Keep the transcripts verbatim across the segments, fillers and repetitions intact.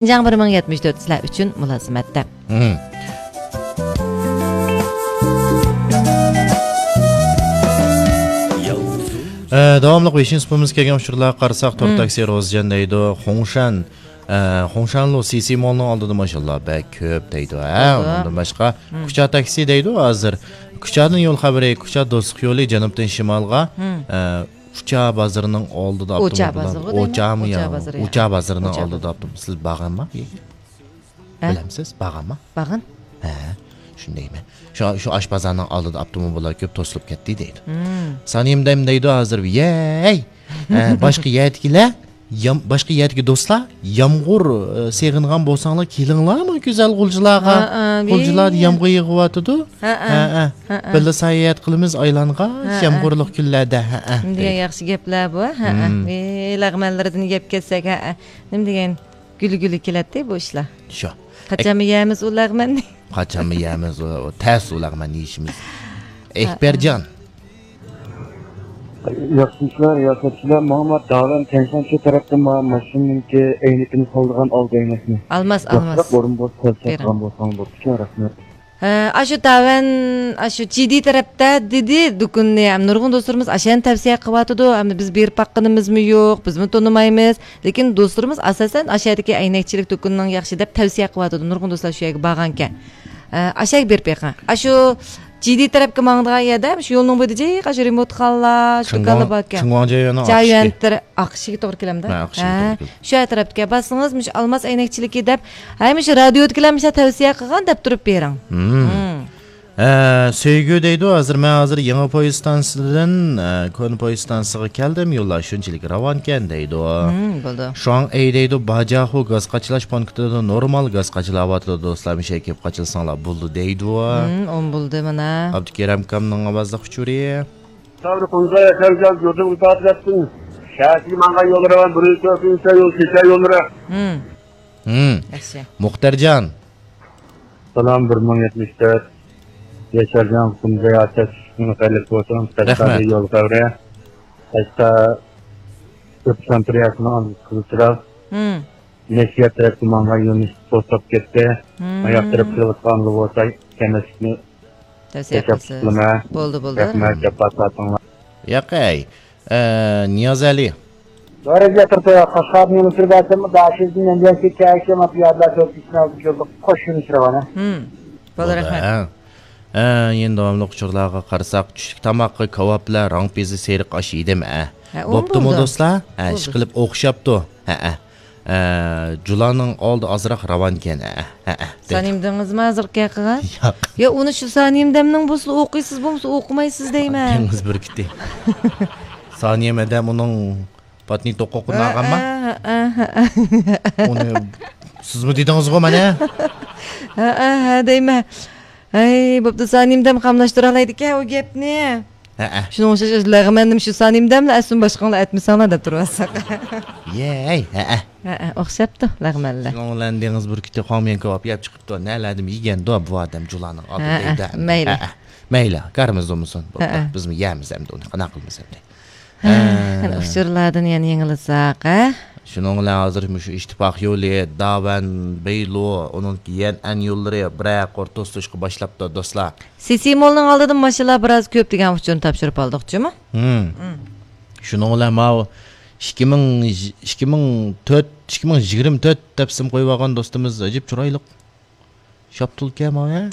شىنجاڭ بىر مىڭ يەتمىش تۆت سىلەر ئۈچۈن مۇلازىمەتتە. مم. ئە، داۋاملىق ۋېشىن سۇپىمىز كەلگەن ئۇچۇرلارغا قارىساق، تور تاكسى روزىجان دەيدۇ، خۇڭشەن، ئە، خۇڭشەنلۇ سىسى مولنىڭ ئالدىدا ماشىنىلار بەك كۆپ دەيدۇ. ھە، ئۇنىڭدىن باشقا كۇچا تاكسى دەيدۇ ھازىر. كۇچادىن يول خەۋىرى، كۇچا دوستلۇق يولى جەنۇبتىن شىمالغا، ئە، ئۇچا بازىرىنىڭ ئالدىدا ئاپتوموبىل. ئۇچا بازىرىغۇ دەيمەن؟ ئۇچامۇ يا؟ ئۇچا بازىرىنىڭ ئالدىدا ئاپتوموبىل. سىز بارغانما؟ بىلەمسىز؟ بارغانما؟ بارغان. ھە، شۇندايمەن. شۇ، شۇ ئاشبازارنىڭ ئالدىدا ئاپتوموبىللار كۆپ توسۇلۇپ كەتتى دەيدۇ. سانىيىم دەيدۇ ھازىر، يەي! ھە، باشقا يەردىكىلەر، يام-، باشقا يەردىكى دوستلار، يامغۇر، ئە، سېغىنغان بولساڭلار، كېلىڭلارمۇ گۈزەل غۇلجىلارغا. ھە، ھە، غۇلجىلاردا يامغۇر يېغىۋاتىدۇ. ھە، ھە. بىللە ساياھەت قىلىمىز ئايلانغا، يامغۇرلۇق كۈنلەردە. ھە، ھە. نېمە دېگەن ياخشى گەپلەر بۇ. ھە، ھە. ھە، لەغمەنلىرىدىن گەپ كەتسەك، ھە، ھە. نېمە دېگەن گۈلگۈلە كېلەتتى بۇ ئىشلار. شۇ. قاچانمۇ يەيمىز ئۇ لەغمەننى؟ قاچانمۇ يەيمىز ئۇ، تەس ئۇ لەغمەننى يېيىشىمىز. ئەكبەرجان. ياخشىمۇسىلەر، رىياسەتچىلەر؟ ماڭا داۋەن تيەنشانشى تەرەپتىن ماڭا ماشىنىنىڭكى ئەينىكىنى سالىدىغان ئالدى ئەينەكنى. ئالماس، ئالماس. ئورۇن بولسا سەل ساتقان بولساڭ بوپتىكەن، رەھمەت. ھە، ئاشۇ داۋەن، ئاشۇ جىدى تەرەپتە دېدى دۇكىنىنى. ھەم نۇرغۇن دوستلىرىمىز ئاشۇنى تەۋسىيە قىلىۋاتىدۇ. ئەمدى بىز بېرىپ باققىنىمىزمۇ يوق، بىزمۇ تونۇمايمىز. لېكىن دوستلىرىمىز ئاساسەن ئاشۇ يەردىكى ئەينەكچىلىك دۇكىنىنىڭ ياخشى دەپ تەۋسىيە قىلىۋاتىدۇ. نۇرغۇن دوستلار شۇ يەرگە بارغانىكەن. ئە، ئاشۇ يەرگە بېرىپ بېقىڭ. ئاشۇ جىدى تەرەپكە ماڭىدىغان يەردە، شۇ يولنىڭ بويىدا جىق ئاشۇ رېمونتخانىلار، شۇ دۇكانلار باركەن. جايۈەن تەرەپ ئاقىشىگە توغرا كېلەمدۇ؟ ھە، ئاقىشىگە توغرا كېلىدۇ. شۇ يەر تەرەپكە بارسىڭىز، مۇشۇ ئالماس ئەينەكچىلىكى دەپ، ھەي، مۇشۇ رادىيودىكىلەر مۇشۇ تەۋسىيە قىلغان دەپ تۇرۇپ بېرىڭ. ئە، سۆيگۈ دەيدۇ، ھازىر مەن ھازىر يېڭى پويىز ئىستانسىسىدىن، ئە، كونا پويىز ئىستانسىسىغا كەلدىم، يوللار شۇنچىلىك راۋانكەن دەيدۇ. ھىم، بولىدۇ. شۇاڭ ئەي دەيدۇ، باجاخۇ گاز قاچىلاش پونكىتىدا نورمال گاز قاچىلاۋاتىدۇ، دوستلار، مۇشۇ يەرگە كېلىپ قاچىلىساڭلار بولىدۇ دەيدۇ. ھىم، ئون بولدى مانا. ئابدۇكېرەم ئاكامنىڭ ئاۋازلىق ئۇچۇرى. سابىر قۇمزاي ئەكەمگە يۇرتىڭ ئىپادىلەتسۇن. شەھەرگە ماڭغان يوللىرى بار، بىر يۈز تۆت يول، كېچە يوللىرى. ھىم. ھىم. ياخشى. مۇختەرجان. سالام، بىر مىڭ يەتمىش تۆت. ياشارجان قۇمزاي ئاچاش، خەيرلىك بولسۇن. قەشقەردە يول خەۋىرى. قەشقەر ئۆپسان پرىياسىنىڭ ئالدىسى قىزىل چىراغ. ھىم. نەشرىيات تەرەپكە ماڭغان يۆنىلىش توسۇپ كەتتى. ھىم. ئاياق تەرەپ كېلىۋاتقان بولسا، كەمەسلىكنى تەۋسىيە قىلىسىز. بولدى، بولدى. رەھمەت، جاپا تارتىڭلار. ياقەي. ئە، نىيازئەلى. دورىزى ئەترىتى قەشقەردىن يۇنۇس بەرسەم، داشىزدىن يەنجەنسى كەشىم ئاتىيادىلا سۆز ئىشنى ئالدى جوللۇق قوش يۇنۇس رەۋانە. ھىم. بولدى، رەھمەت. ھە. ئە، يەنە داۋاملىق ئۇچۇرلارغا قارىساق، چۈشلۈك تاماققا كاۋاپلار، راڭ پىزى، سېرىق ئاش يېدىم، ئە. ھە، ئۇمۇ بوپتۇمۇ بولىدۇ. دوستلار؟ ھە، بولىدۇ. ئىشقىلىپ ئوخشاپتۇ. ھە، ھە. ئە، جۇلانىڭ ئالدى ئازراق راۋانكەن، ھە، ھە، ھە، دەيدۇ. سانىيىم دېڭىزمۇ ھازىرقى ھەققىگە؟ ياق. يا، ئۇنى شۇ سانىيىم دەمنىڭ بولسا ئوقۇيسىز، بولمىسا ئوقۇمايسىز دەيمەن. دېڭىز بۈركۈتى. سانىيىم ئادەم ئۇنىڭ پاتنى توقۇقىنى ئالغانما؟ ھە، ھە، ھە، ھە. ئۇنى سىزمۇ دېدىڭىزغۇ مانا. ھە، ھە، ھە دەيمەن. ھەي، بوپتۇ، سانىيىم دەم قاملاشتۇرالايدىكەن ئۇ گەپنى. ھەئە. شۇنىڭغا ئوخشاش لەغمەندىمۇ شۇ سانىيىم دەملا ئەسلىمۇ باشقاڭلار ئەتمىسەڭلار دەپ تۇرۇۋاتساق. يەي، ھەئە. ھەئە، ئوخشاپتۇ لەغمەنلەر. شۇنىڭ بىلەن دېڭىز بۈركۈتى خاڭميەن كاۋاپ يەپ چىقىپتۇ. نەلەردىمۇ يېگەندۇ بۇ ئادەم جۇلانىڭ ئالدىدا ھەئە، دەيدۇ. مەيلى. ھەئە. مەيلى، كارىمىز بولمىسۇن. بوپتۇ. ھەئە. بىزمۇ يەيمىز ئەمدى ئۇنى. قانداق قىلىمىز ئەمدى؟ ھە، ھە. قېنى ئۇچۇرلاردىن يەنە يېڭىلىساق، ھە؟ شۇنىڭ بىلەن ھازىر مۇشۇ ئىتتىپاق يولى، داۋەن، بەيلۇ، ئۇنىڭ يەنئەن يوللىرى بىرەر قۇر توسۇلۇشقا باشلاپتۇ، دوستلار. سىسى مولنىڭ ئالدىدا ماشىنىلار بىراز كۆپ دېگەن ئۇچۇرنى تاپشۇرۇپ ئالدۇقچۇمۇ؟ ھىم. ھىم. شۇنىڭ بىلەن ماۋۇ ئىككى مىڭ، ئىككى مىڭ تۆت، ئىككى مىڭ يىگىرمە تۆت دەپ ئىسىم قويۇۋالغان دوستىمىز ئەجەب چىرايلىق. شاپتۇلكەن ماۋۇ، ھە؟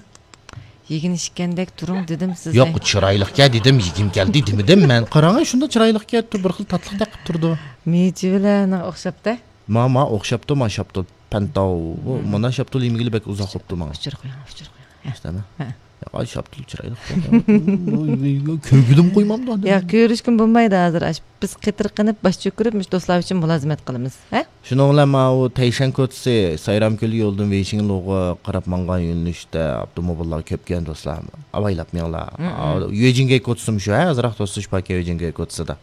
يېگىن ئىچكەندەك تۇرۇڭ دېدىم سىزگە. ياق، چىرايلىقكەن دېدىم، يېگۈم كەلدى دېمىدىم مەن. قاراڭ، شۇنداق چىرايلىقكەن، بىر خىل تاتلىقتەك قىلىپ تۇرىدۇ. مېۋە بىلەن ئوخشاپتۇ. ما، ما ئوخشاپتۇ، ما شاپتۇل. پەنتاۋ. بۇ، مم. مانا شاپتۇل يېمىگىلى بەك ئۇزاق بوپتۇ ماڭا. ئۇچۇر قويۇڭ، ئۇچۇر قويۇڭ. ھە. ئىشتەمە. ھە. ياق، ئاي، شاپتۇل چىرايلىق. كۆرگۈدىمۇ قويمامدۇ ئادەم. ياق، كۆرۈشكىمۇ بولمايدۇ ھازىر. ئاش-، بىز قېتىرقىنىپ، باش چۆكۈرۈپ، مۇشۇ دوستلار ئۈچۈن مۇلازىمەت قىلىمىز. ھە؟ شۇنىڭ بىلەن ماۋۇ تەيشەن كوچىسى، سايرامكۆل يولىدىن ۋېيشىڭلۇغا قاراپ ماڭغان يۆنىلىشتە ئاپتوموبىللار كۆپكەن دوستلار. ئاۋايلاپ مېڭىڭلار. مم، مم. يۆجىنگەي كوچىسىمۇ شۇ، ھە؟ ئازراق توسۇلۇش باركەن يۆجىنگەي كوچىسىدا.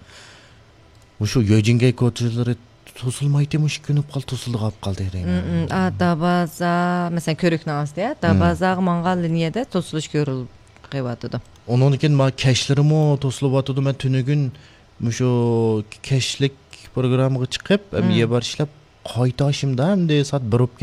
مۇشۇ يۆجىنگەي كوچىلىرى توسۇلمايتتى، مۇشۇ كۈنۈپ قالدى، توسۇلىدىغان بولۇپ قالدى دەيمەن. مم، مم. ئا، دابازا، مەسىلەن، كۆۋرۈكنىڭ ئاستى، ھە؟ مم. دابازاغا ماڭغان لىنىيەدە توسۇلۇش كۆرۈلۈپ قېلىۋاتىدۇ. ئۇنىڭدىن كېيىن ما كەچلىرىمۇ توسۇلۇۋاتىدۇ. مەن تۈنۈگۈن مۇشۇ كەچلىك پروگراممىغا چىقىپ، مم. يەر بار ئىشلەپ، قايتاشىمدا ئەمدى سائەت بىر بولۇپ